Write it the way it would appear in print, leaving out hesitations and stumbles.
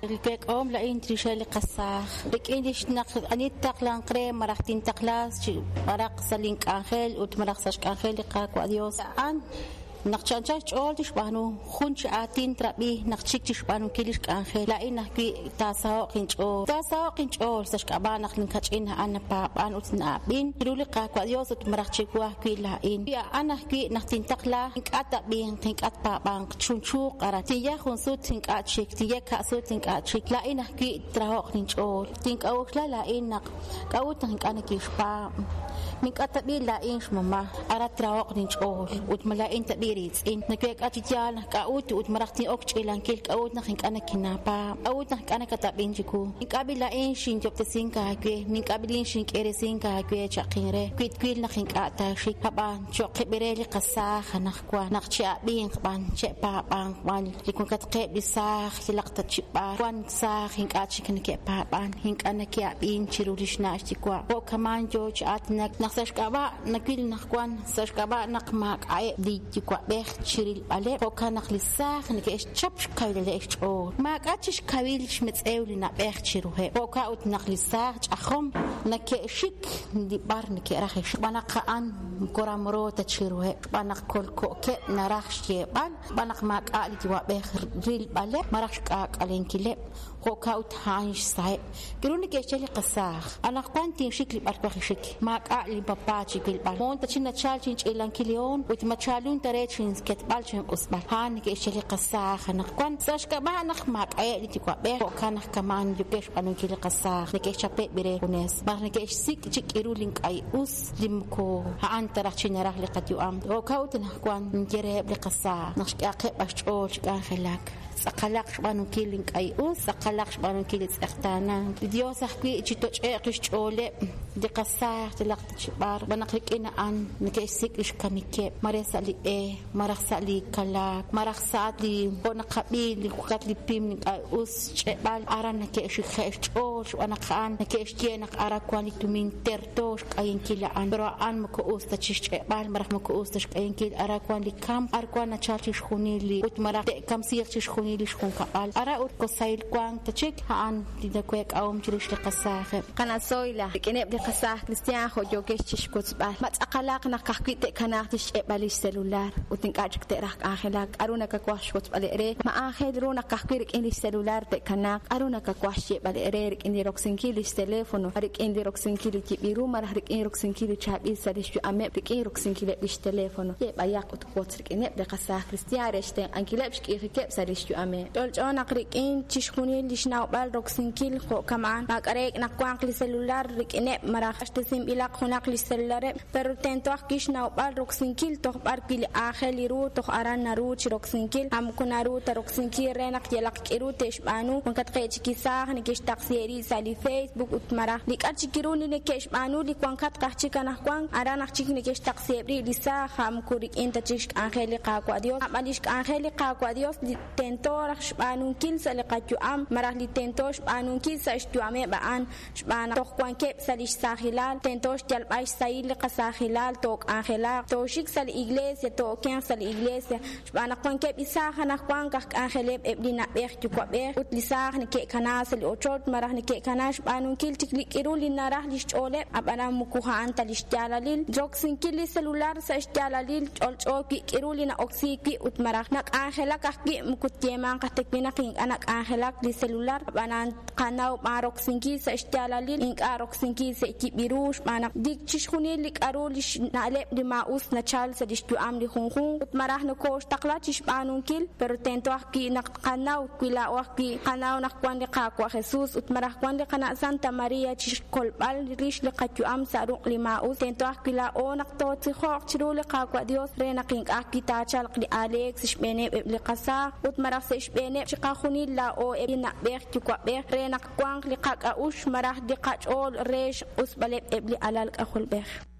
Li week'ahom laa'in chirixeb' li qasaaj rik'in lix naq ani ttaqlanq re malaj tintaqla chi b'araq sa' lin k'anjel ut malaj sa' xk'anjel li Qaawa' Dios, a'an naq chi anchal xch'ool tixb'aanu, jun chi aatin trab'i naq txik chixb'aanunkil lix k'anjel, laa'in ajwi' taasaho'q inch'ool. Taasaho'q inch'ool sa' xk'ab'a' naq lin kach'in a'an napaab'an ut na'ab'in chiru li Qaawa' Dios ut malaj chiwu ajwi' laa'in. Wi a'an ajwi' naq tintaqla, ink'a' t-ab'inq, ink'a' tpaab'anq, chunchuuq aran. Tinye jun sut, ink'a' chik, tinye ka'sut, ink'a' chik. Laa'in ajwi' traho'q linch'ool. Tink'a'uxla laa'in naq k'a'ut naq ink'a' nikinxpaab'. Ma ink'a' tab'i' laa'in xmama'? Aran traho'q linch'ool. Ut ma laa'in tab'i' riitz'in? Naweek'a chi yaal naq k'a'ut ut malaj tin'ok xch'iilankil k'a'ut naq ink'a' nikinaapaab'. K'a'ut naq ink'a' nakatab'in chiwu? Ink'a' b'i' laa'in xinyob'tesink aawe, ink'a' b'i' laa'in xink'iiresink aawe, cha'qin re. Wi twil naq ink'a' taaxik, ab'an cho'q re li qasaaj anaqwan naq che'ab'inq b'an, che'paab'anq b'an li wankatqeb' li saaj yalaq ta chi b'ar wank saaj ink'a' chik neke'paab'an, ink'a' neke'ab'in chiru li xna' xyuwa'. Jo'kaman yo chi aatinak naq sa' xk'ab'a' nawil anaqwan sa' xk'ab'a' naq maak'a'eb' li yuwa'b'ej chi rilb'aleb', jo'kan naq li saaj neke'xchap xkawilaleb' xch'ool. Maak'a' chik xkawil xmetz'ew li na'b'ej chiruheb'. Jo'kan ut naq li saaj ch'ajom neke'xik li b'ar neke'raj xb'aan naq a'an moko ramro ta chiruheb', xb'aan naq kolko'keb' naraj xyeeb'al, xb'aan naq maak'a' li yuwa'b'ej rilb'aleb' malaj xk'aak'alenkileb', jo'kan ut a'an xsaheb'. K'aru neke'xye li qasaaj? Anaqwan tinxik li b'ar twaj xik. Maak'a' linpapa chi wilb'al. Moon ta chi nachalk chinch'iilankil li hoon ut ma chaalun ta re chinketb'al chinq'usb'al. A'an neke'xye li qasaaj anaqwan. Sa' xk'ab'a' naq maak'a'eb' li yuwa'b'ej, jo'kan naq kama'an yookeb' xb'aanunkil li qasaaj, neke'xchapeb' re junes. Malaj neke'xsik' chik k'iru li ink'a' us li moko a'an ta raj chi naraj li qayu'am. Jo'kan ut anaqwan ninye reheb' li qasaaj naq xk'ehaqeb' b'an xch'ool chi k'anjelak. Tz'aqalaq xb'aanunkil li ink'a' us, tz'aqalaq xb'aanunkil li tz'eqtaanank. Li Dios ajwi' chitoch'e'q li xch'ooleb' li qasaaj yalaq ta chi b'ar, xb'aan naq rik'in a'an neke'xsik' li xkamikeb', mare sa' li b'e, malaj sa' li kalaak, malaj sa' li jo' naqab'i li wakat li pim li ink'a' us xch'e'b'al, aran neke'xikje' xch'ool xb'aan naq a'an neke'xye naq aran wank li tumin terto xk'ayinkil a'an, pero a'an moko us ta chi xch'e'b'al malaj moko us ta xk'ayinkil, aran wank li kamk, ar wank nachalk chixjunil li ut malaj te'kamsiiq chixjunil li xjunkab'al, aran ut moko sahil wank ta chik, a'an li naweek'ahom chirix li qasaajeb'. Qana' Zoila, rik'ineb' li qasaaj kristiaan jo' yookex chixwotzb'al, ma tz'aqalaq naq ka'ajwi' te'kanaaq chixch'e'b'al lix celular ut ink'a' chik te'raj k'anjelak? K'a'ru nakawaj xwotzb'al eere? Ma aajel ru naq ka'ajwi' rik'in lix celular te'kanaaq? K'a'ru nakawaj xyeeb'al eere rik'in li roksinkil lix teléfono, rik'in li roksinkil li yib'il ru malaj rik'in roksinkil li chaab'il sa' lix yu'ameb' rik'in roksinkileb' lix teléfono? Ye b'ayaq ut wotz rik'ineb' li qasaaj kristiaan re xtenq'ankileb' xk'iijikeb' sa' lix yu'ameb'. Ch'olch'o naq rik'in chixjunil li xnawb'al roksinkil jo' kama'an, maak'a' reek' naq wanq li celular rik'ineb' malaj q'axtesinb'ilaq junaq li xcelulareb', pero tento ajwi' xnawb'al roksinkil toj b'ar wi' li aajel ru toj aran naru chi roksinkil, a moko naru ta roksinkil re naq yalaq k'iru te'xb'aanu, wankatqeb' chik li saaj neke'xtaqsi rib' sa' li Facebook ut malaj li k'a' chik ru li neke'xb'aanu li wankatq aj chik anaqwan, aran aj chik neke'xtaqsiheb' rib' li saaj, a moko rik'in ta chik xk'anjel li Qaawa' Dios, ab'an li xk'anjel li Qaawa' Dios li tento raj xb'aanunkil sa' li qayu'am malaj li tento xb'aanunkil sa' xyu'ameb' a'an xb'aan naq toj wankeb' sa' li xsaajilal, tento xyalb'al xsahil li qasaajilal, took'anjelaq, tooxik sa' li iglesia, too'okenq sa' li iglesia, xb'aan naq wankeb' li saaj anaqwan aj k'anjeleb' eb' li na'b'ej yuwa'b'ej ut li saaj neke'kana sa' li ochoch malaj neke'kana xb'aanunkil chik li k'iru li naraj li xch'ooleb', ab'anan moko a'an ta li xyaalalil. Roksinkil li celular sa' xyaalalil ch'olch'o wi' k'iru li na'oksiik wi' ut malaj nak'anjelak ajwi' moko tyeemanq aj ta wi' naq ink'a' nak'anjelak li celular, ab'anan tqanaw b'an roksinkil sa' xyaalalil, ink'a' roksinkil sa' yib'il ru xb'aan naq li chixjunil li k'aru li xna'leb' li maa'us nachal sa' li xyu'am li junjunq ut malaj nokooxtaqla chi xb'aanunkil, pero tento ajwi' naq tqanaw wi laa'o ajwi' tqanaw naq wank li Qaawa' Jesús ut malaj wank li qana' Santa María chi xkolb'al rix li qayu'am sa' ruq' li maa'us, tento ajwi' laa'o naq tootzijo'q chiru li Qaawa' Dios re naq ink'a' ajwi' taachalq li aaleek sa' xb'eeneb' eb' li qasaaj ut malaj sa' xb'eeneb' chiqajunil laa'o eb' li na'b'ej yuwa'b'ej re naq wanq li qak'a'uxl malaj li qach'ool re xq'usb'aleb' eb' li alal k'ajolb'ej.